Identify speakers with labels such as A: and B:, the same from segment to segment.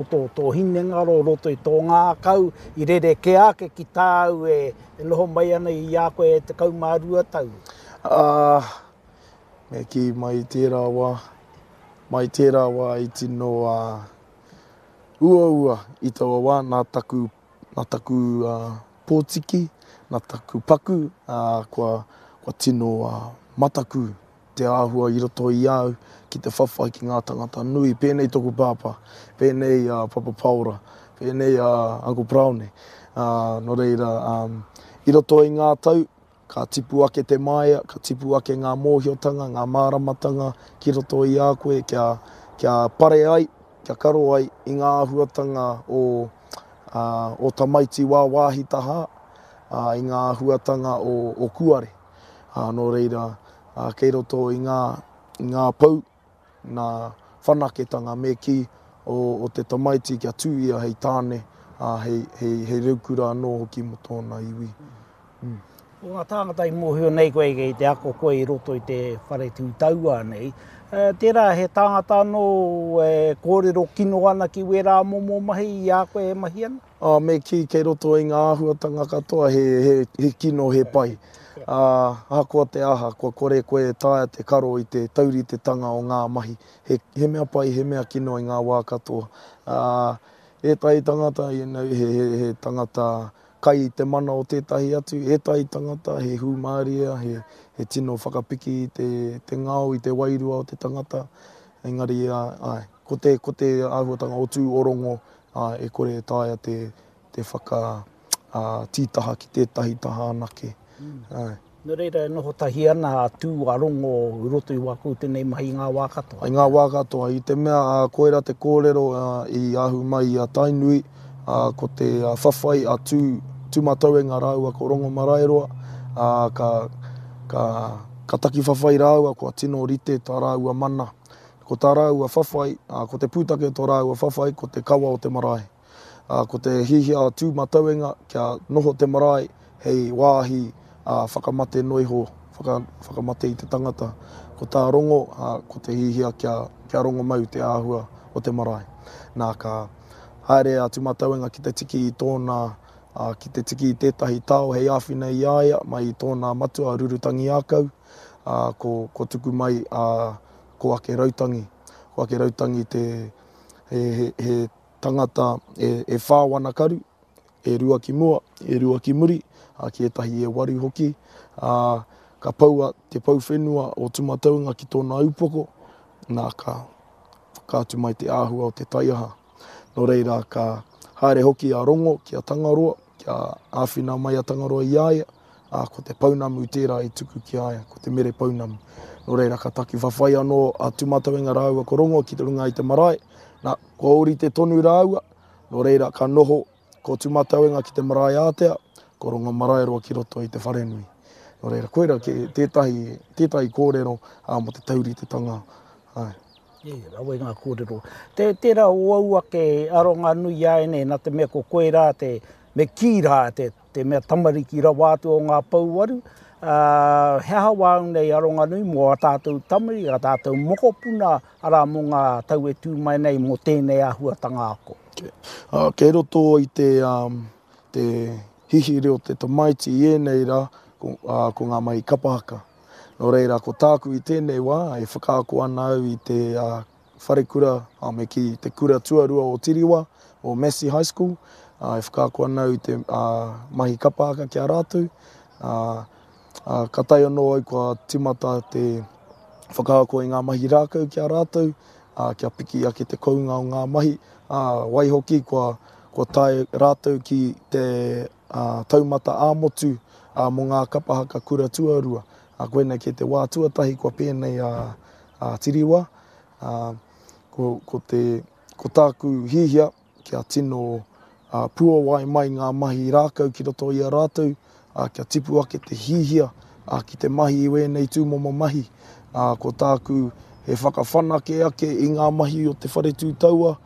A: Roto o tō hinengaro, roto i tō ngākau, i rerekē ake ki tāu e noho mai ana i a koe e 12 tau?
B: Ā, me kī mai i tērā wā, mai i tērā wā i tino uaua i taua wā nā taku, nā taku pōtiki, nā taku paku, ā, kua, kua tino mataku te āhua i roto i a au ki te whawhai ki ngā tangata nui, pēnei toku pāpā, pēnei a Papa Paora, pēnei a Uncle Paraone. Ā, nō reira, i roto i ngā tau, ka tipu ake te māia, ka tipu ake ngā mōhiotanga, ngā māramatanga ki roto i a koe kia, kia pare ai, kia karo ai i ngā āhuatanga o, ā, o tamaiti wāwāhi tahā, ā, i ngā āhuatanga o, o kuare. Ā, nō reira, ā, kei roto i ngā, i ngā pou, ngā whanaketanga me kī o, o te tamaiti kia tū ia hei tāne, ā, hei, hei, hei reukura anō hoki mō tōna iwi.
A: Mm. Ko ngā tāngata i mōhio nei koe kei te ako koe i roto i te whare tū taua nei, tērā he tāngata anō e kōrero kino ana ki wērā momo mahi i a koe e mahi ana?
B: Ā, me kī kei roto i ngā āhuatanga katoa he, he, he kino, he pai. Ā, ahakoa te aha, kua kore koe e taea te karo i te tauritetanga o ngā mahi. He, he mea pai, he mea kino i ngā wā katoa. Ā, ētahi tangata, you know, he, he, he tangata kai i te mana o tētahi atu, ētahi tangata he hūmārie, he, he tino whakapiki i te, te ngao, i te wairua o te tangata. Engari, ā, āe, ko te, ko te āhuatanga o tū o rongo, ā, e kore e taea te, te whaka, ā, tītaha ki tētahi taha anake.
A: Āe. Nō reira e noho tahi ana a Tū, a Rongo i roto i wā koutou nei mahi i ngā wā katoa.
B: I ngā wā katoa, i te mea, ā, koirā te kōrero, ā, i ahu mai i a Tainui, ā, ko te whawhai a Tū, Tūmatauenga rāua ko Rongomaraeroa, ā, ka, ka, ka taki whawhai rāua, kua tino rite tā rāua mana. Ko tā rāua whawhai, ā, ko te pūtake o tō rāua whawhai, ko te kawa o te marae. Ā, ko te hihia a Tūmatauenga kia noho te marae hei wāhi, ā, whakamate noiho, whaka, whakamate i te tangata. Ko tā Rongo, ā, ko te hihia kia, kia rongomau te āhua o te marae. Nā, ka haere a Tūmatauenga ki te tiki i tōna, ā, ki te tiki i tētahi tao hei āwhina i a ia mai i tōna matua a Rurutangiākau, ā, ko, ko tuku mai a, ko Ake Rautangi. Ko Ake Rautangi te, he, he, he tangata e, e whā wana karu, e rua ki mua, e rua ki muri, ā, ki ētahi e waru hoki, ā, ka poua te pou whenua o Tūmatauenga ki tōna upoko, nā, ka whakaatu mai te āhua o te taiaha. Nō reira, ka haere hoki a Rongo ki a Tangaroa, kia āwhina mai a Tangaroa i a ia, ā, ko te pounamu tērā i tuku ki a ia, ko te mere pounamu. Nō reira, ka taki whawhai anō a Tūmatauenga rāua ko Rongo ki runga i te marae, nā, kua ōrite tonu rāua, nō reira, ka noho ko Tūmatauenga ki te marae ātea, ko Rongomaraeroa ki roto i te wharenui. Nō reira, koira tētahi, tētahi kōrero ā, mō te tauritetanga. Āe.
A: E, rawe ngā kōrero. Te, tērā o au ake aronga nui āianei, nā te mea ko koe rā te, me kī rā te, te mea tamariki rawa atu o ngā pouwaru, ā, he aha wāu nei aronga nui mō ā tātou tamariki, ā tātou mokopuna, arā mō ngā tau e tū mai nei mō tēnei āhuatanga ako?
B: Ā, kei roto i te, um, te hihiri o te tamaiti i ēnei rā, ko, ā, ko ngā mahi kapa haka. Nō reira, ko tāku i tēnei wā, e whakaako ana au i te wharekura, me kī, te kura tuarua o Tiriwa, o Massey High School, e whakaako ana au i te mahi kapa haka ki a rātou. Ka tae anō au kua tīmata te whakaako i ngā mahi rākau ki a rātou, kia piki ake te kounga o ngā mahi, waihoki kua tae rātou ki te taumata ā-motu mō ngā kapa haka kura tuarua. Koinei kē te wā tuatahi kua pēnei a Tiriwa. Ko, ko, te, ko tāku hihia kia tino puawai mai ngā mahi rākau ki roto i a rātou, kia tipu ake te hihia ki te mahi i wēnei tūmomo mahi. Ko tāku he whakawhanake ake i ngā mahi o te whare tū taua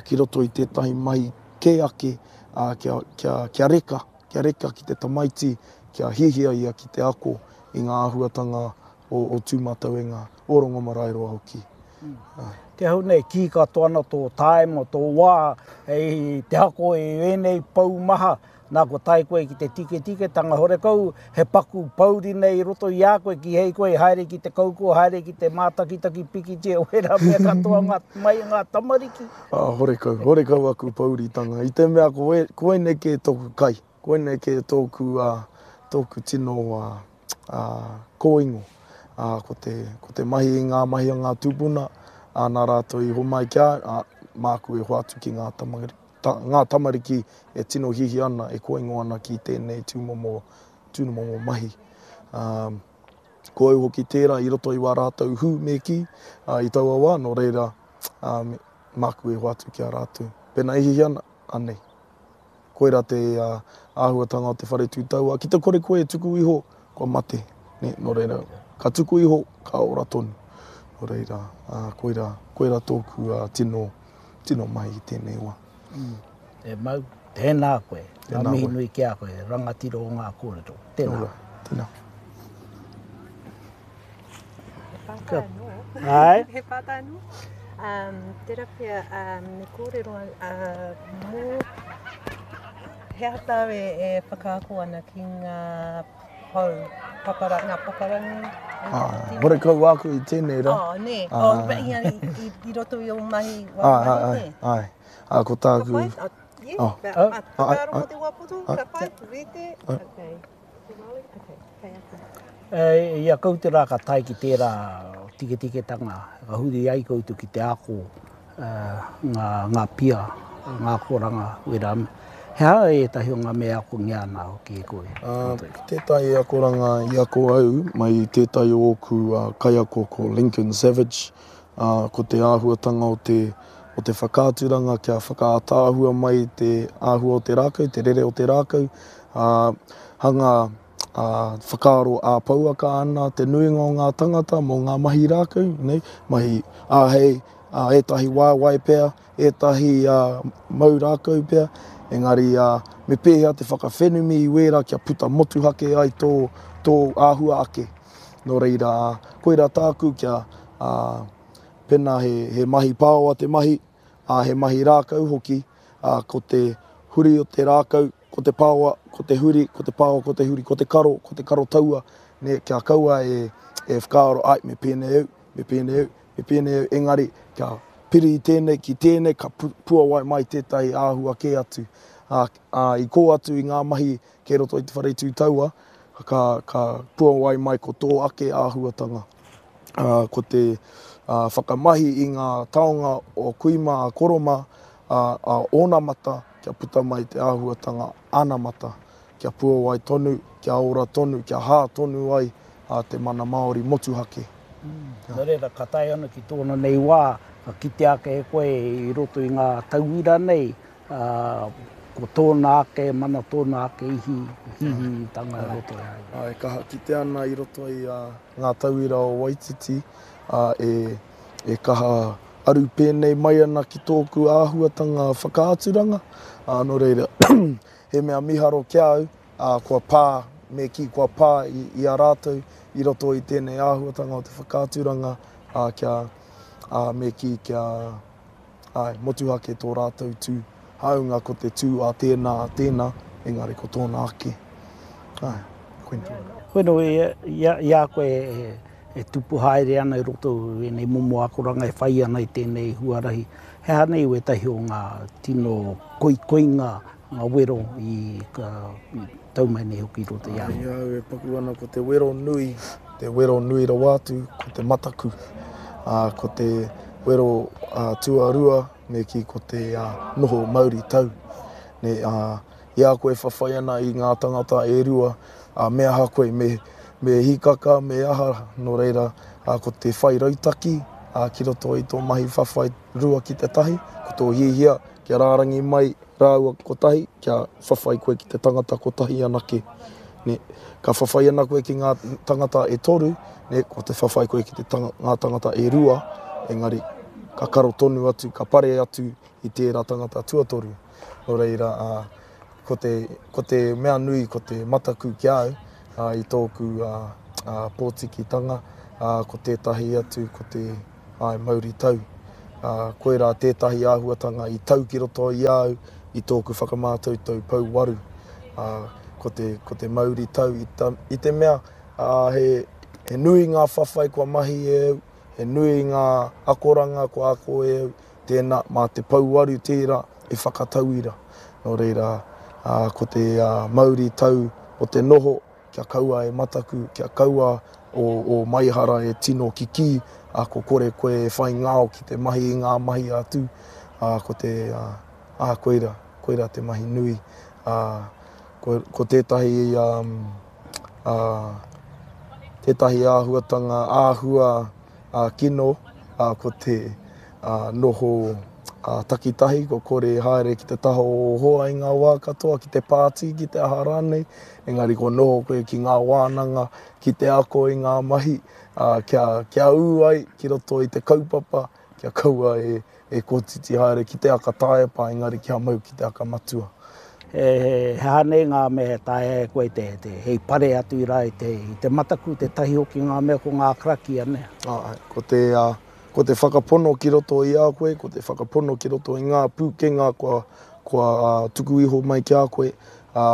B: ki roto i tētahi mahi kē ake, ā, kia, kia, kia reka, kia reka ki te tamaiti, kia hihia ia ki te ako i ngā āhuatanga o, o Tūmatauenga, o Rongomaraeroa hoki.
A: Te hau nei, kī katoa ana tō taima, tō wā, hei te ako i ēnei pou maha, nā kua tae koe ki te tiketiketanga, horekau he paku pouri nei i roto i a koe, kīhei koe i haere ki te kauko, haere ki te mātakitaki pikitia, wērā mea katoa ngā, mai i ngā tamariki.
B: Ā, horekau, horekau aku pouritanga, i te mea ko, koinei kē tōku kai, koinei kē tōku, ā, tōku tino, ā, ā, kōingo, ā, ko te, ko te mahi i ngā mahi a ngā tūpuna, ā, nā rātou i homai ki a au, ā, māku e hoatu ki ngā tamariki, ta, ngā tamariki e tino hiahia ana, e kōingo ana ki tēnei tūmomo, tūmomo mahi. Ā, ko au hoki tērā i roto i wā rātou hū me kī, ā, i taua wā, nō reira, ā, me, māku e hoatu ki a rātou. Pēnā e hiahia ana, anei. Koirā te āhuatanga o te whare tū tauā. Ki te kore koe e tuku iho, kua mate. Nē, nō reira, ka tuku iho, ka ora tonu. Nō reira, koirā, koirā tōku tino, tino mahi i tēnei wā.
A: E mau, tēnā koe. Ngā mihi nui ki a koe, rangatira o ngā kōrero. Tēnā.
B: Ora, tēnā.
C: He pātai anō.
A: Āe.
C: He pātai anō. Um, tērā pea, um, me kōrero uh, mō he aha tāu e, e whakaako ana ki ngā pou, papara, ngā paparangi?
B: Ah, horekau āku i tēnei rā.
C: Oh, nē. Ah. Oh, i, i, i roto i ō mahi, wā
B: ah, mahi, nē? Ai, ai. Ah, ko tāku...
C: Ka pai? Ah, yeah. Oh. Ah, whakaaro mō te wā poto, ka pai, rite. Okay.
A: I a koutou rā ka tae ki tērā tiketiketanga, ka huri ai koutou ki te ako ngā pia, ngā akoranga, wērā mea. He aha ētahi o ngā mea e akongia ana hoki e koe?
B: Tētahi akoranga i ako au mai i tētahi o ōku kaiako ko Lincoln Savage, ko te āhuatanga o te o te whakaaturanga kia whakaātaahua mai te āhua o te rākau, te rere o te rākau, ā, hanga ā, whakaaro ā-pouaka ana te nuinga o ngā tangata mō ngā mahi rākau, nei, mahi āhei, ā, ētahi waewae pea, ētahi ā, mau rākau pea, engari ā, me pēhea te whakawhenumi i wērā kia puta motuhake ai tō, tō āhua ake. Nō reira, ā, koirā tāku kia, ā, pēnā he, he mahi pāoa te mahi, ā, he mahi rākau hoki, ā, ko te huri o te rākau, ko te pāoa, ko te huri, ko te pāoa, ko te huri, ko te karo, ko te karo taua, nē, kia kaua e, e whakaaro, ai, me pēnei au, me pēnei au, me pēnei au, engari, kia piri i tēnei ki tēnei, ka pu, puawai mai tētahi āhua kē atu. Ā, ā, i kō atu i ngā mahi kei roto i te whare tū taua, ka, ka puawai mai ko tō ake āhuatanga. Ā, ko te whakamahi i ngā taonga o kui mā, a koro mā, ā, a onamata, kia puta mai te āhuatanga anamata, kia puawai tonu, kia ora tonu, kia hā tonu ai te mana Māori motuhake.
A: Nō reira, ka tae ana ki tōna nei wā, ka kitea ake e koe i roto i ngā tauira nei, ā, ko tōna ake mana, tōna ake ihi, hihitanga i roto i a ia.
B: Ā, e kaha kitea ana i roto i ngā tauira o Waititi, ā, e, e kaha aru pēnei mai ana ki tōku āhuatanga whakaaturanga, ā, nō reira, he mea miharo ki a au, ā, kua pā, me kī kua pā i, i a rātou i roto i tēnei āhuatanga o te whakaaturanga, ā, kia, ā, me kī kia, Āe, motuhake tō rātou tū. Hāunga ko te tū a tēnā, a tēnā, engari ko tōna ake. Āe, koinā.
A: Bueno, i a koe e tupu haere ana i roto i ēnei momo akoranga e whai ana i tēnei huarahi, he aha nei wētahi o ngā tino koikoinga, ngā wero i tau mai nei hoki i roto i a koe?
B: I a au e paku ana ko te wero nui, te wero nui rawa atu, ko te mataku. Ā, ko te wero tuarua, me kī ko te noho mauri tau. Nē, ā, i a koe e whawhai ana i ngā tangata e rua, ā, me aha koe, me, me hīkaka, me aha, nō reira, ā, ko te whai rautaki, ā, ki roto i tō mahi whawhai rua ki te tahi, ko tō hiahia kia rārangi mai rāua kotahi, kia whawhai koe ki te tangata kotahi anake. Nē, ka whawhai ana koe ki ngā tangata e toru, nē, ko te whawhai koe ki te tanga, ngā tangata e rua, engari ka karo tonu atu, ka pare atu i tērā tangata tuatoru. Nō reira, ā, ko te, ko te mea nui, ko te mataku ki a au, ā, i tōku, ā, ā, pōtikitanga, ā, ko tētahi atu, ko te. Āe, mauri tau. Ā, koirā tētahi āhuatanga i tau ki roto i a au i tōku whakamātautau pouwaru. Ā, ko te, ko te mauri tau i ta, i te mea, ā, he, he nui ngā whawhai kua mahi e au, he nui ngā akoranga kua ako e au, tēnā, mā te pouwaru tērā e whakatauira. Nō reira, ā, ko te mauri tau o te noho, kia kaua e mataku, kia kaua ō, ō maihara e tino kikī, ā, ko kore koe e whai ngao ki te mahi i ngā mahi a Tū, ā, ko te, ā, ā, koira, koira te mahi nui, ā, ko, ko tētahi, ā, ā, tētahi āhuatanga āhua, ā, kino, ā, ko te, ā, noho, ā, takitahi, ko kore haere ki te taha o ō hoa i ngā wā katoa, ki te pāti, ki te aha rānei, engari ko noho koe ki ngā wānanga, ki te ako i ngā mahi, ā, kia, kia ū ai ki roto i te kaupapa, kia kaua e, e kotiti haere ki te aka taepa, engari kia mau ki te aka matua.
A: He, he aha nei ngā mea e taea e koe te, te, hei pare atu i rā i te, i te mataku, te tahi hoki ngā mea ko ngā karakia, nē?
B: Āe, ko te, ā, ko te whakapono ki roto i a koe, ko te whakapono ki roto i ngā pūkenga kua, kua ā, tuku iho mai ki a koe, ā,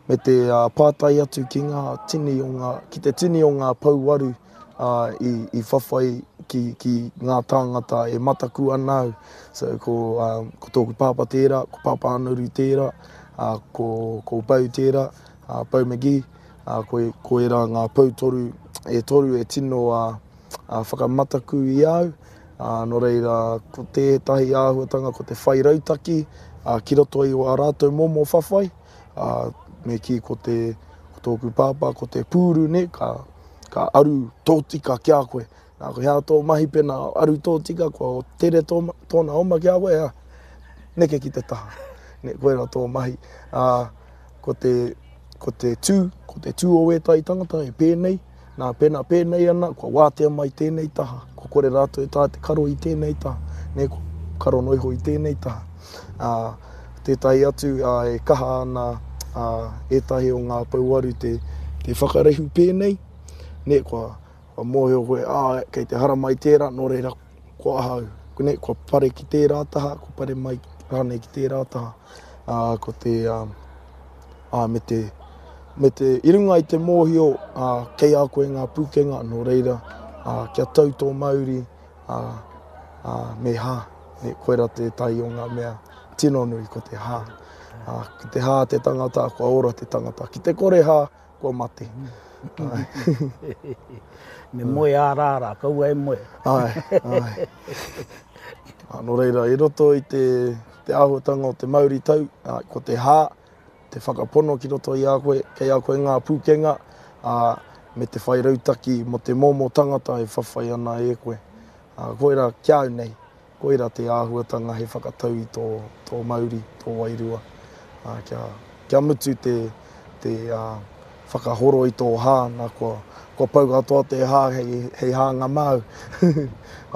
B: me te pātai atu ki ngā tini o ngā, ki te tini o ngā pouwaru ā, i, i whawhai ki, ki ngā tāngata e mataku ana au. So, ko, ā, ko tōku pāpā tērā, ko Pāpā Anaru tērā, ā, ko, ko Beau tērā, ā, Beau McGee, ā, ko, ko ērā ngā pou toru, e toru e tino ā, ā, whakamataku i a au. Ā, nō reira, ko tētahi āhuatanga ko te whai rautaki, ā, ki roto i ā rātou momo whawhai, ā, me kī ko te, ko tōku pāpā, ko te pūru, nē, ka, ka aru tōtika ki a koe. Nā, ko hea tō mahi pēnā aru tōtika, kua tere tō, tōna oma ki a koe, ā, neke ki te taha. Nē, koirā tō mahi. Ā, ko te, ko te tū, ko te tū o ētahi tangata e pēnei, Nā, pēnā pēnei ana, kua wātea mai tēnei taha, kua kore rātou e taea te karo i tēnei taha, nē, kua karo noa iho i tēnei taha. Ā, tētahi atu, ā, e kaha ana, ā, ētahi o ngā pouaru te, te whakarehu pēnei, nē, kua, kua mōhio koe, ā, kei te haramai tērā, nō reira, kua aha au, nē, kua pare ki tērā taha, kua pare mai rānei ki tērā taha. Ā, ko te, ā, ā, me te, me te, i runga i te mōhio, ā, kei a koe ngā pūkenga, nō reira, ā, kia tau tō mauri, ā, ā, me hā, me koira tētahi o ngā mea tino nui, ko te hā. Ā, ki te hā te tangata, kua ora te tangata. Ki te kore hā, kua mate.
A: Me moe ā-rārā, kaua e moe.
B: Āe, āe. Ā, nō reira, i roto i te, te āhuatanga o te mauri tau, ā, ko te hā, te whakapono ki roto i a koe, kei a koe ngā pūkenga, ā, me te whai rautaki mō te momo tangata e whawhai ana e koe. Ā, koirā ki a au nei, koirā te āhuatanga hei whakatau i tō, tō mauri, tō wairua, ā, kia, kia mutu te, te, ā, whakahoro i tō hā, nā, kua, kua pau katoa te hā hei, hei hānga māu.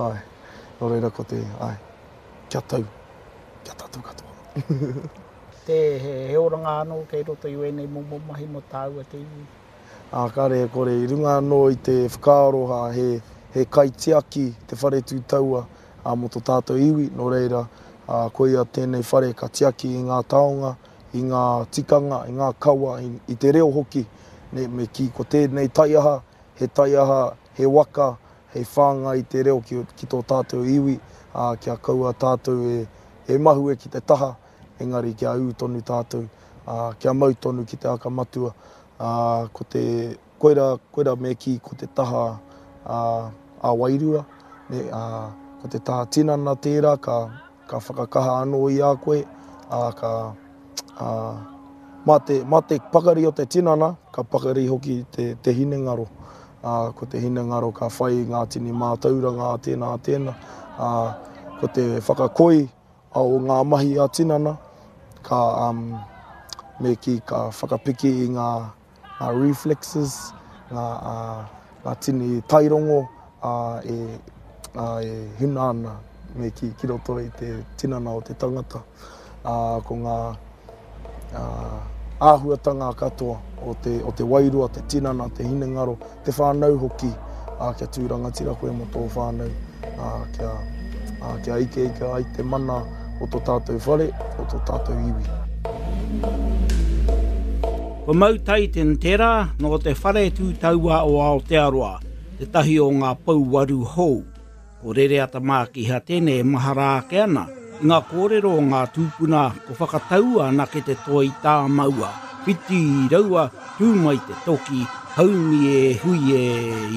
B: Āe, nō reira ko te, āe, kia tau, kia tātou katoa.
A: Te, he oranga anō kei roto i wēnei momo mahi mō tāua te iwi.
B: Ā, kāre e kore, i runga anō i te whakaaro ha, he, he kaitiaki te whare tū taua, ā, mō tō tātou iwi, nō reira, ā, koia tēnei whare ka tiaki i ngā taonga, i ngā tikanga, i ngā kawa, i, i te reo hoki, nē, me kī ko tēnei taiaha, he taiaha, he waka, hei whāngai i te reo ki, ki tō tātou iwi, ā, kia kaua tātou e, e mahue ki te taha, engari kia ū tonu tātou, ā, kia mau tonu ki te aka matua, ā, ko te, koira, koira me kī ko te taha, ā, ā-wairua, nē, ā, ko te taha tinana tērā ka, ka whakakaha anō i a koe, ā, ka, ā, mā te, mā te pakari o te tinana, ka pakari hoki te, te hinengaro. Ā, ko te hinengaro ka whai i ngā tini mātauranga a tēnā, a tēnā, ā, ko te whakakoi o ngā mahi ā-tinana, ka, um, me kī, ka whakapiki i ngā, ngā reflexes, ngā, uh, ngā tini tairongo uh, e, uh, e huna ana, me kī, ki roto i te tinana o te tangata. Uh, ko ngā uh, āhuatanga katoa o te, o te wairua, te tinana, te hinengaro, te whānau hoki, uh, kia tū rangatira koe mō tō whānau. ā, kia, ā, kia ikeike ai te mana o tō tātou whare, o tō tātou iwi.
A: Ko Mau Taitin tērā nō te Whare Tū Taua o Aotearoa, tētahi o ngā pouwaru hou. Ko Rereata Mākiha tēnei e mahara ake ana i ngā kōrero o ngā tūpuna ko whakataua anake te toi tāmaua, whiti raua, tū mai te toki, haumi e hui e.